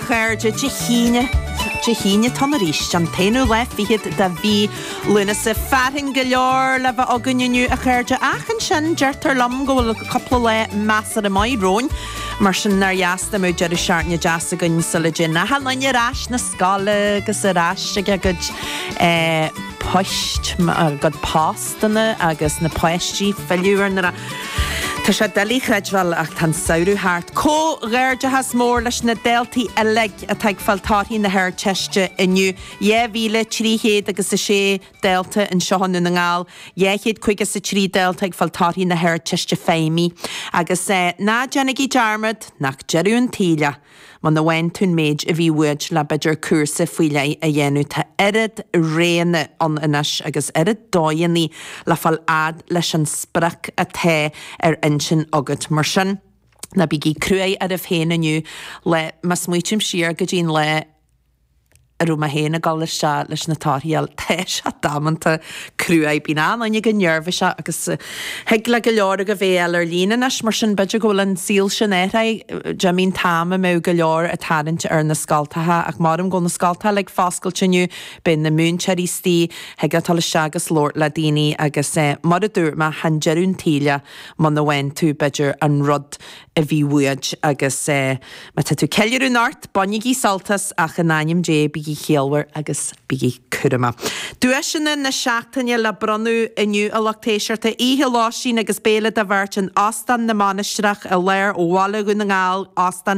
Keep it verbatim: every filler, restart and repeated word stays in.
chairde Dé hAoine Dé hAoine atá ann arís an t-aonú lá fichead de mhí Lúnasa fearthainn go leor le bheith againn inniu a chairde ach ansin deirtear liom go bhfuil cúpla lá measartha maith romhainn mar sin nár dheas dá mbeadh deireadh seachtaine deas againn sula dtéann achan duine ar ais na scoile agus ar ais ag a gcuid eh, poist a gcuid postanna agus na páistí filleadh ar na Tá sé doiligh a chreidbheáil ach tá an samhradh thart. Comhghairdeachas mór leis na daltaí uilig atá ag fáil torthaí na hArdteiste inniu. Dhá mhíle trí chéad agus a sé dalta anseo i nDún na nGall, dhá chéad caoga is a trí dalta ag fáil torthaí na hArdteiste Feidhmí. Agus eh, ná déanaigí dearmad nach deireadh an tsaoil é. Muna bhfaigheann tú an méid a bhí uait le b'fhéidir cúrsa faoi leith a dhéanamh tá oiread roghanna ann anois agus oiread dóigheanna le fáil fhad leis an sprioc atá ar intinn agat mar sin. Ná bígí cruaidh oraibh féin inniu le má smaoiním siar go dtí an lá a raibh mé féin ag dul isteach leis na torthaí tá sé damanta cruaidh bíonn an-duine go neirbhíseach agus thig le go leor agaibh é a fháil ar líne anois mar sin b'fhéidir go bhfuil an saol sin athraithe d'imigh an t-am a mbeadh go leor ag tarraingt ar na scoltacha ach maram go bhfuil na scoltacha uilig foscailte inniu beidh na múinteoirí istigh thig leat dul isteach agus labhairt le daoine agus eh, mar a dúirt mé chan deireadh an tsaoil é muna bhfaigheann tú b'fhéidir an rud a bhí uait agus eh, má tá tú ceiliúradh anocht bainigí sult as ach in ainm Dé bígí ciallmhar agus bígí cúramach. Duaiseanna na seachtaine le bronnadh inniu a lucht éisteachta oíche lóistín agus béile do bheirt in Óstán na Mainistreach i lár Bhaile Dhún na nGall Óstán